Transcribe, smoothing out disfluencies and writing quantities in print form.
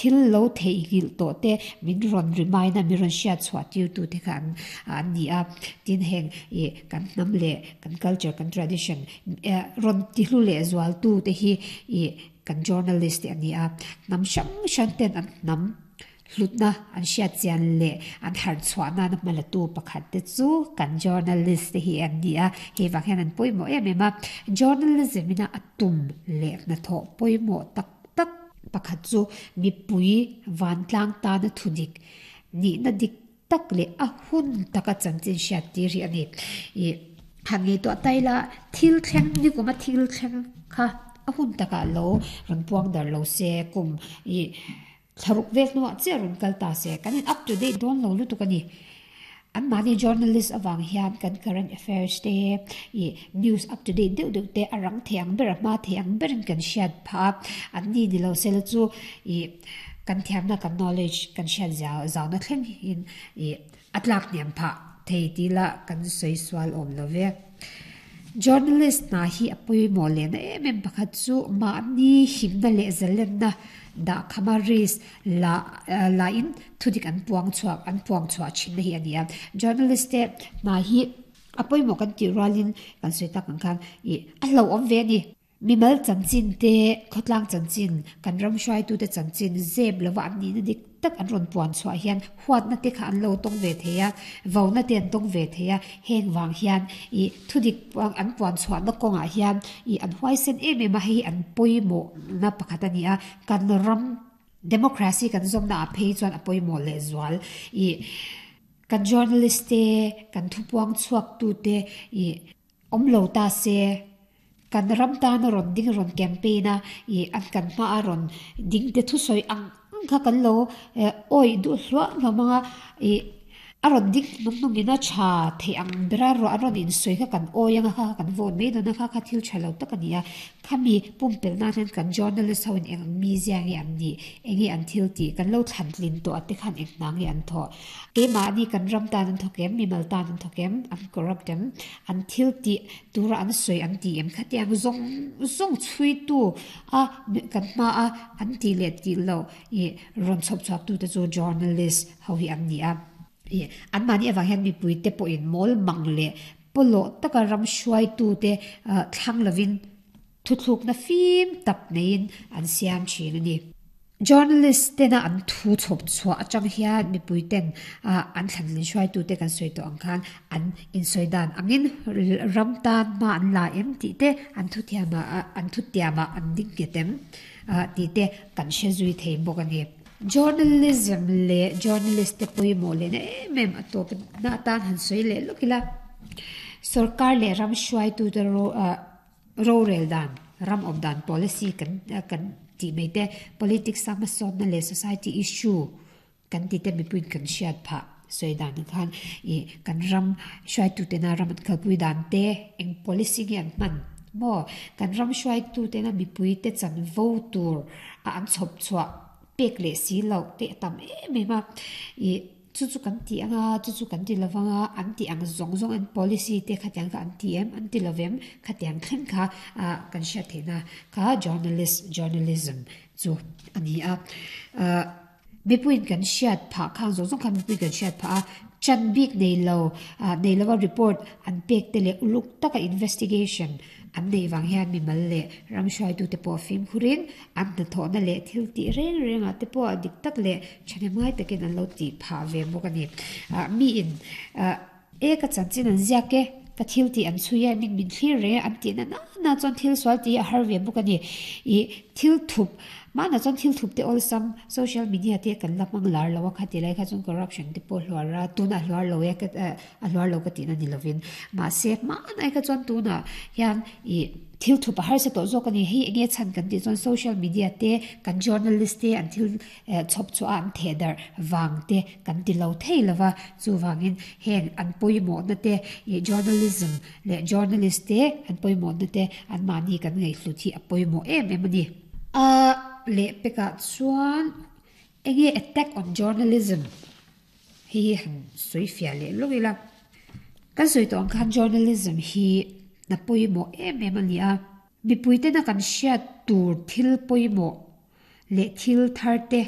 thil lo theihnghilh tawh te min rawn remind a, min rawn hriat chhuah tir tu te kha an an ni a. Tin heng ih kan hnam leh kan culture kan tradition rawn tihlu leh zual tu te hi ih kan journalist te a ni a. Hnam hrang hrang ten an hnam Hlutna an hriat chian leh an harh chhuah nana hmalatu pakhat te chu kan journalist te hi an ni a, hei vang hian an pawimawh em em a. Journalism ina a tum leh hnathawh pawimawh tak tak pakhat chu mipui vantlang tana thudik nihna dik tak leh a hun taka chanchin hriat tir hi a ni. Ih han ngaihtuah ta ila thil thleng nikuma thil thleng kha a hun takah lo rawn puang dar lo se kum ih Thlaruk vel hnuah chiah rawn kal ta se, kan in up to date dawn lo lutuk a ni. Anmahni journalist avang hian kan current affairs te, ih news up to date deuh deuh te a rang thei ang ber, a hma thei ang berin kan hriat phah a. Anni ni lo sela chu ih kan thiamna, kan knowledge kan hriat zau zauna thleng in ih a tlak hniam phah thei tih lah kan sawi sual awm lo ve. Journalist hna hi a pawimawh lehna em em pakhat chu mahni himna leh zalenna dahkhama risk la lahin thudik an puang chhuak an puang chhuah thinna hi a ni a. Journalist te hna hi a pawimawh kan tih rualin kan sawi tak ang khan ih a hlauhawm ve a ni. Mimal chanchin te, khawtlang chanchin, kan ram hruaitute chanchin zep lova an nihna dik tak an rawn puan chhuah hian huatna te kha an lo tawng ve thei a, vauna te an tawng ve thei a, heng vang hian ih thudik an puan chhuahna kawngah hian ih an huaisen em em a, hei hi an pawimawhna pakhat a ni a, kan ram democracy kan zawmna ah phei chuan a pawimawh lehzual ih kan journalist te, kan thupuang chhuaktute ih. Awm lo ta se, kan ram tan a rawn ding rawn campaign a, ih an kan hma a rawn ding te thusawi ang ang kha kan lo awih duh hluah hlawm ang a, ih a rawn ding hnung hnung in a tha theih ang ber a an rawn insawi kha kan awi ang a kha kha kan vote mai dawn a kha kha thil tha lo tak a ni a, khami pumpelh nan hian kan journalist ho in eng ang mizia nge an nih, eng nge an thil tih, kan lo thlan tlin tawh a te khan eng hna nge an thawh. Keimahni kan ram tan an thawk em, mimal tan an thawk em, an corrupt em, an thil tih tura an sawi an ti em khatiang zawng zawng chhuitu a kan hma a an tih leh tih loh ih rawn chhawp chhuak tute chu journalist ho hi an ni a. Ih anmahni avang hian mipuite pawhin mawl mang leh pawlawh taka ram hruaitute thlang lovin Thuthlukna fim tak neiin an siam thin a ni. Journalist tena an thu chhawp chhuah atang hian mipui ten an thlanlin hruaitute kan sawi tawh ang khan an insawi dan angin ram tan hma an la em tih te an thuthiamah an thutiamah an ding nghet em tih te kan hre zui thei bawk a ni. Journalism leh journalist te pawimawh lehna em em a tawp na atan han sawi leh lawk ila sorkar leh ram hruaitute Rorel dan, ram awm dan policy kan kan tih mai te, politics a hmasawnna leh society issue kan tih te mipuiin kan hriat phah sawi dan ang khan ih kan ram hruaitutena ram an kalpui dan te eng policy nge an hman maw kan ram hruaitutena mipuite chanvo tur a an chhawp chhuah pek leh si loh te a tam em em a ih. Chu chu kan ti ang a, chu chu kan ti lo vang a, an ti ang zawng zawng an policy te khatiang kha an ti em, an ti lo vem, khatiang thleng kha ah kan hriat theihna kha journalist, journalism chu a ni a. Ah mipuiin kan hriat phah khang zawng zawng kha mipuiin kan hriat phah a, chan bik nei lo ah nei lova report an pek te leh uluk taka investigation An neih vang hian mimal leh ram hruaitute pawh fimkhurin an hnathawhna leh thil tih reng rengah te pawh dik tak leh thahnemngai takin an lo tih phah ve bawk a ni. Miin e ka chanchin an ziak e, ka thil tih an chhui e, min min thlir reng e an tih na na chuan thil sual tih hi a har ve bawk a ni. Ih thil thup mahna chuan thil thup te awlsam social media te kan la hmang lar lo a kha ti lai kha chuan corruption te pawh hluar a tunah hluar lo e A hluar lo ka tihna ni lovin. Mahse, hmanai kha chuan tunah hian ih thil thup a harsa tawh zawk a ni. Hei enge chhan kan tih chuan social media te, kan journalist te an thil chhawp chhuah a an theh darh vang te kan ti lo thei lo va. Chuvangin heng an pawimawhna te ih journalism leh journalist te an pawimawhna te anmahni kan ngaihhlut hi a pawimawh em em a ni. A lehpekah chuan enge attack on journalism? Hei hi han sawi fiah leh lawk ila, kan sawi tawh ang khan journalism hi hna pawimawh em em a ni a, mipuitena kan hriat tur thil pawimawh leh thil thar te.